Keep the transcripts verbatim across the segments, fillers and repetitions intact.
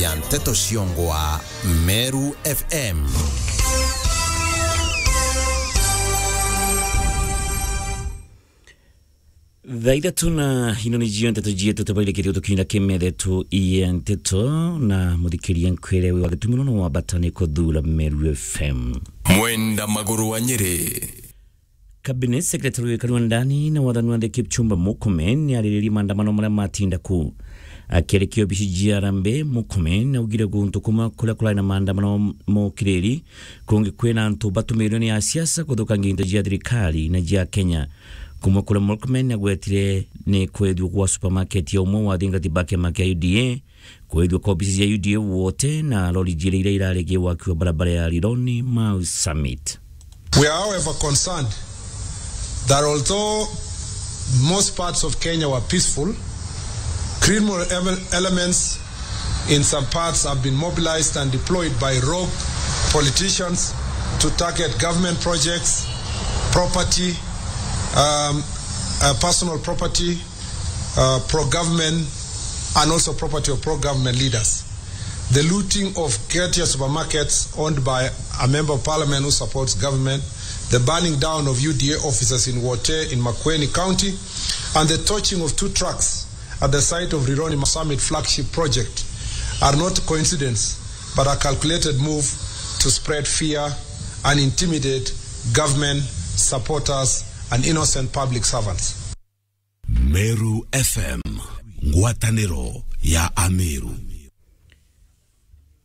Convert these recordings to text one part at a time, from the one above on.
ya nteto ciongwa Meru F M. Thaa ithatu na ino ni cio nteto cietu tubairikitie gutukinyira kimethe tu ie nteto na muthikiria nkwire wi wa gitumi nono wa bata ni kuthura Meru F M. Mwenda Maguru wa Nyeri. Cabinet Secretary wikari wa ndani na wathani wa nthi Kipchumba Murkomen ni ariririe maandamano maria matinda ku. Akiarikia obici cia Harambee, Murkomen augire guntu kumwe kuria kurari na maandamano mokiriri kungi kwina antu batumirwe ni asiasa kuthukangia into cia thirikari na cia Kenya. Kumwe kuria Murkomen agwetire ni kwethua gwa supermarket ya umwe wa athingati ba kiama kia U D A, kwethua kwa obici cia U D A Wote na lori jiria iria irarigia waki wa barabara ya Rironi Mau Summit. We are, however, concerned that although most parts of Kenya were peaceful, criminal ele-, elements in some parts have been mobilized and deployed by rogue politicians to target government projects, property, um, uh, personal property, uh, pro-government, and also property of pro-government leaders. The looting of Ketia supermarkets owned by a member of parliament who supports government, the burning down of U D A offices in Wote in Makueni County, and the torching of two trucks at the site of Rironi Mau Summit flagship project are not coincidence, but a calculated move to spread fear and intimidate government supporters and innocent public servants. Meru F M, ngwataniro ya Ameru.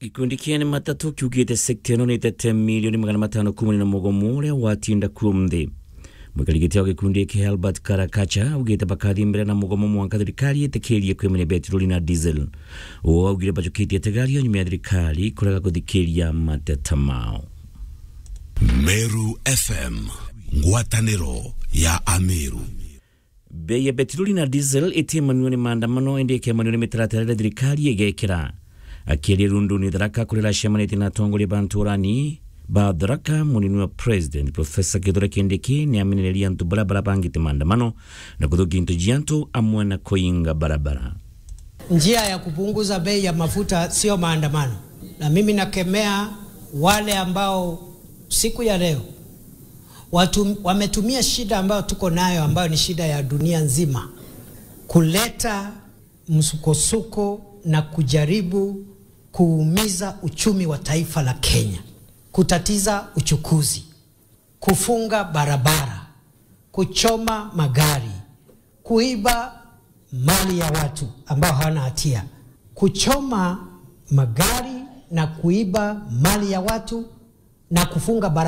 Gikundi kia Ene Matatu kiugite sekta ino ni itete milioni magana matano kumania na mugomo uria watinda kuo nthi. Mwikari giti wa gikundi giki Albert Karakacha augite bakathii mbere na mugomo mwanka thirikari itikirie kwimenya betiroli na diesel. Uu augire bajukitie tegario nyuma ya thirikari kurega kuthikiria mateta mao. Meru F M, ngwataniro ya Ameru. Bei ya betiroli na diesel itimanua ni maandamano, indi ikemanua ni mitaratara iria thirikari igekira. Akiaria Runduni Tharaka kuria aracemanitie na atongoria ba nturani ba Tharaka, munini wa President Professor Kithure Kindiki ni amenererie antu baria barabangite maandamano na kuthukia into cia antu amwe na kuinga barabara. Njia ya kupunguza bei ya mafuta sio maandamano, na mimi nakemea wale ambao siku ya leo watu wametumia shida ambayo tuko nayo, ambayo ni shida ya dunia nzima, kuleta msukosuko na kujaribu kuumiza uchumi wa taifa la Kenya, kutatiza uchukuzi, kufunga barabara, kuchoma magari, kuiba mali ya watu ambao hawana hatia, kuchoma magari na kuiba mali ya watu na kufunga barabara.